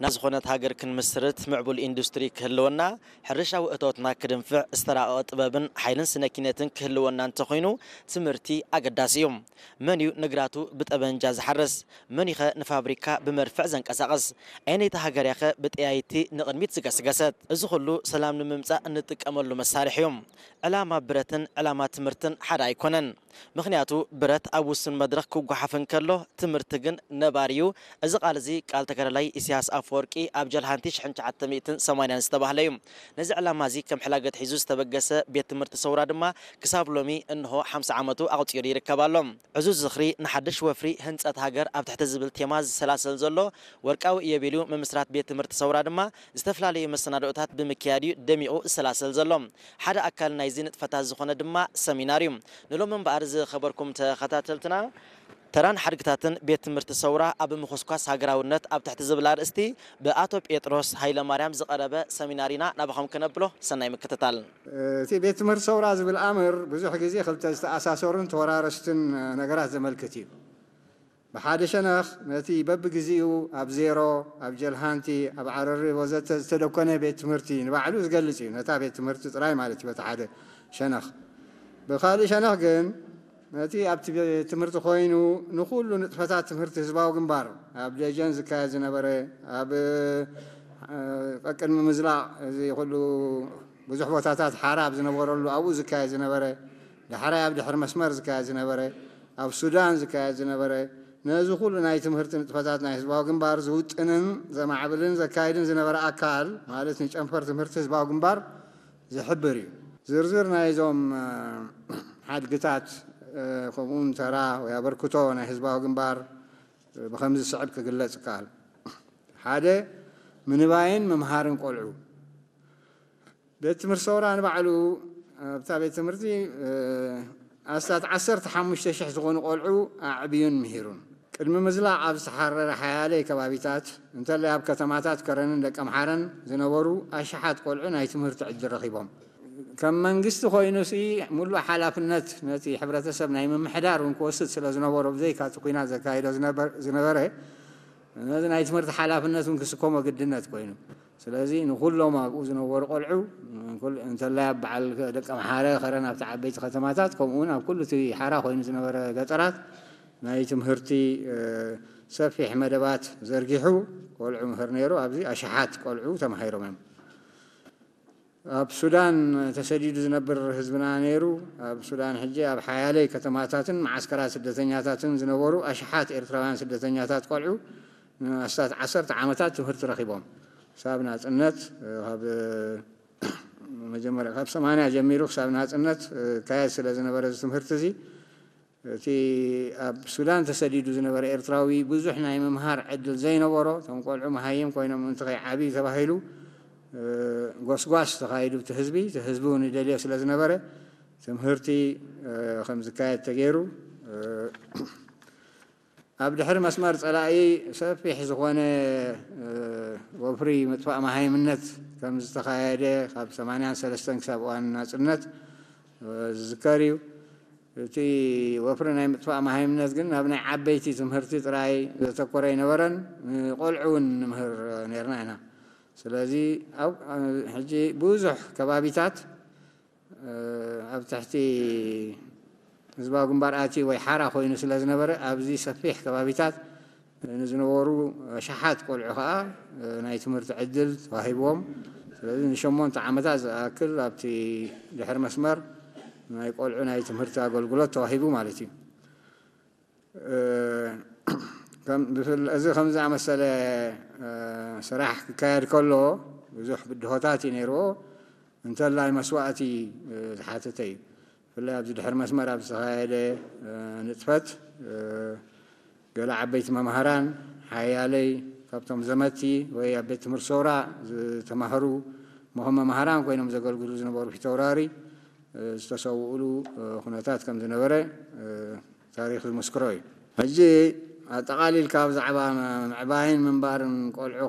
ናብ ዝኾነት ሃገር ክንምስርት ምዕቡል ኢንዱስትሪ ክህልወና፣ ሕርሻዊ እቶትና ክድንፍዕ ዝተራቐቐ ጥበብን ሓይልን ስነ ኪነትን ክህልወና እንተኾይኑ ትምህርቲ ኣገዳሲ እዩ። መን እዩ ንግራቱ ብጠበንጃ ዝሓርስ? መን ዩኸ ንፋብሪካ ብመድፍዕ ዘንቀሳቕስ? ኣየነይቲ ሃገር እያ ኸ ብጠያይቲ ንቕድሚት ዝገስገሰት? እዚ ኹሉ ሰላም ንምምጻእ እንጥቀመሉ መሳርሒ እዩ። ዕላማ ብረትን ዕላማ ትምህርትን ሓደ ኣይኮነን። ምኽንያቱ ብረት ኣብ ውሱን መድረኽ ክጓሓፍ እንከሎ ትምህርቲ ግን ነባሪ እዩ። እዚ ቃል እዚ ቃል ተጋዳላይ ኢሳያስ ኣፈወርቂ ኣብ ጀልሃንቲ ሽሕን ትሽዓተ ሚእትን ሰማንያን ዝተባህለ እዩ። ነዚ ዕላማ እዚ ከም ሕላገት ሒዙ ዝተበገሰ ቤት ትምህርቲ ሰውራ ድማ ክሳብ ሎሚ እንሆ ሓምሳ ዓመቱ ኣቑጺሩ ይርከብ ኣሎ። ዕዙዝ ዝኽሪ ንሓድሽ ወፍሪ ህንጸት ሃገር ኣብ ትሕቲ ዝብል ቴማ ዝሰላሰል ዘሎ ወርቃዊ ኢዮቤልዩ ምምስራት ቤት ትምህርቲ ሰውራ ድማ ዝተፈላለዩ መሰናድኦታት ብምክያድ እዩ ደሚቑ ዝሰላሰል ዘሎ። ሓደ ኣካል ናይዚ ንጥፈታት ዝኾነ ድማ ሰሚናር እዩ። ንሎሚ እምበኣር ዝኸበርኩም ተኸታተልትና፣ ተራን ሓድግታትን ቤት ትምህርቲ ሰውራ ኣብ ምኹስኳስ ሃገራውነት ኣብ ትሕቲ ዝብል ኣርእስቲ ብኣቶ ጴጥሮስ ሃይለማርያም ዝቐረበ ሰሚናር ኢና ናባኹም ከነብሎ። ሰናይ ምክትታል። እቲ ቤት ትምህርቲ ሰውራ ዝብል ኣምር ብዙሕ ግዜ ክልተ ዝተኣሳሰሩን ተወራረስትን ነገራት ዘመልክት እዩ። ብሓደ ሸነኽ ነቲ በብግዜኡ ኣብ ዜሮ፣ ኣብ ጀልሃንቲ፣ ኣብ ዓረሪ ወዘተ ዝተደኮነ ቤት ትምህርቲ ንባዕሉ ዝገልጽ እዩ። ነታ ቤት ትምህርቲ ጥራይ ማለት እዩ በቲ ሓደ ሸነኽ። ብኻልእ ሸነኽ ግን ነቲ ኣብቲ ቤት ትምህርቲ ኮይኑ ንኹሉ ንጥፈታት ትምህርቲ ህዝባዊ ግንባር ኣብ ደጀን ዝካየድ ዝነበረ፣ ኣብ፣ እ፣ ቀቅድሚ ምዝላቕ እዚ ኩሉ ብዙሕ ቦታታት ሓራ ኣብ ዝነበረሉ ኣብኡ ዝካየድ ዝነበረ፣ ዳሕራይ ኣብ ድሕሪ መስመር ዝካየድ ዝነበረ፣ ኣብ ሱዳን ዝካየድ ዝነበረ፣ ነዚ ኩሉ ናይ ትምህርቲ ንጥፈታት ናይ ህዝባዊ ግንባር ዝውጥንን ዘማዕብልን ዘካይድን ዝነበረ ኣካል ማለት ንጨንፈር ትምህርቲ ህዝባዊ ግንባር ዝሕብር እዩ። ዝርዝር ናይዞም፣ እ፣ ሓድግታት፣ እ፣ ከምኡውን ተራ ወይ ኣበርክቶ ናይ ህዝባዊ ግንባር፣ እ፣ ብኸምዚ ዝስዕብ ክግለጽ ይከኣል። ሓደ፣ ምንባይን ምምሃርን ቆልዑ። ቤት ትምህርቲ ሰውራ ንባዕሉ ኣብታ ቤት ትምህርቲ፣ እ፣ ኣስታት ዓሰርተ ሓሙሽተ ሽሕ ዝኾኑ ቆልዑ ኣዕብዩን ምሂሩን። ቅድሚ ምዝላቕ ኣብ ዝተሓረረ ሓያለይ ከባቢታት፣ እንተላይ ኣብ ከተማታት ከረንን ደቀምሓረን ዝነበሩ ኣሽሓት ቆልዑ ናይ ትምህርቲ ዕድል ረኺቦም። ከም መንግስቲ ኮይኑሲ፣ ሙሉእ ሓላፍነት ነቲ ሕብረተሰብ ናይ ምምሕዳር እውን ክወስድ ስለ ዝነበሮ፣ ብዘይካ እቲ ኲናት ዘካይዶ ዝነበር-፣ ዝነበረ፣ ነዚ ናይ ትምህርቲ ሓላፍነት እውን ክስከሞ ግድነት ኮይኑ። ስለዚ ንኹሎም ኣብኡ ዝነበሩ ቆልዑ፣ ኩል-፣ እንተላይ ኣብ በዓል ደቀምሓረ፣ ከረን፣ ኣብቲ ዓበይቲ ከተማታት፣ ከምኡ እውን ኣብ ኩሉ እቲ ሓራ ኮይኑ ዝነበረ ገጠራት ናይ ትምህርቲ፣ እ፣ ሰፊሕ መደባት ዘርጊሑ ቆልዑ ምህር ነይሩ። ኣብዚ ኣሽሓት ቆልዑ ተማሂሮም እዮም። ኣብ ሱዳን ተሰዲዱ ዝነብር ህዝብና ነይሩ። ኣብ ሱዳን ሕጂ ኣብ ሓያለይ ከተማታትን መዓስከራት ስደተኛታትን ዝነበሩ ኣሽሓት ኤርትራውያን ስደተኛታት ቆልዑ ንኣስታት ዓሰርተ ዓመታት ትምህርቲ ረኺቦም። ክሳብ ናጽነት፣ እ፣ ካብ፣ እ፣ መጀመርያ ካብ ሰማንያ ጀሚሩ ክሳብ ናጽነት፣ እ፣ ካየድ ስለ ዝነበረ እዚ ትምህርቲ እዚ፣ እቲ ኣብ ሱዳን ተሰዲዱ ዝነበረ ኤርትራዊ ብዙሕ ናይ ምምሃር ዕድል ዘይነበሮ፣ እቶም ቆልዑ መሃይም ኮይኖም ምእንቲ ከይዓብዩ ተባሂሉ፣ እ፣ ጎስጓስ ተኻይዱ፣ እቲ ህዝቢ፣ እቲ ህዝቢ እውን ይደልዮ ስለ ዝነበረ፣ ትምህርቲ፣ እ፣ ከም ዝካየድ ተገይሩ። እ፣ ኣብ ድሕሪ መስመር ጸላኢ ሰፊሕ ዝኾነ፣ እ፣ ወፍሪ ምጥፋእ መሃይምነት ከም ዝተኻየደ ካብ ሰማንያን ሰለስተን ክሳብ እዋን ናጽነት፣ እ፣ ዝዝከር እዩ። እቲ ወፍሪ ናይ ምጥፋእ መሃይምነት ግን ናብ ናይ ዓበይቲ ትምህርቲ ጥራይ ዘተኮረ ኣይነበረን። ንቆልዑ እውን ንምህር ነርና ኢና። ስለዚ ኣብ፣ ሕጂ ብዙሕ ከባቢታት፣ እ፣ ኣብ ትሕቲ ህዝባዊ ግንባር ኣትዩ ወይ ሓራ ኮይኑ ስለ ዝነበረ፣ ኣብዚ ሰፊሕ ከባቢታት ንዝነበሩ ኣሽሓት ቆልዑ ኸኣ ናይ ትምህርቲ ዕድል ተዋሂብዎም። ስለዚ ንሸሞንተ ዓመታት ዝኣክል ኣብቲ ድሕሪ መስመር ናይ ቆልዑ ናይ ትምህርቲ ኣገልግሎት ተዋሂቡ ማለት እዩ። እ፣ ከም፣ ብፍል-፣ እዚ ከም ዝኣመሰለ፣ እ፣ ስራሕ ክካየድ ከሎ ብዙሕ ብድሆታት እዩ ነይርዎ። እንተላይ መስዋእቲ፣ እ፣ ዝሓተተ እዩ። ብፍላይ ኣብዚ ድሕሪ መስመር ኣብ ዝተኻየደ፣ እ፣ ንጥፈት፣ እ፣ ገለ ዓበይቲ መማህራን ሓያለይ ካብቶም ዘመቲ ወይ ኣብ ቤት ትምህርቲ ሰውራ ዝተማህሩ ምኸም መማህራን ኮይኖም ዘገልግሉ ዝነበሩ ፊተውራሪ፣ እ፣ ዝተሰውኡሉ፣ እ፣ ኩነታት ከም ዝነበረ፣ እ፣ ታሪኽ ዝምስክሮ እዩ። ሕጂ ኣጠቓሊልካ ብዛዕባ ምዕባይን ምንባርን ቆልዑ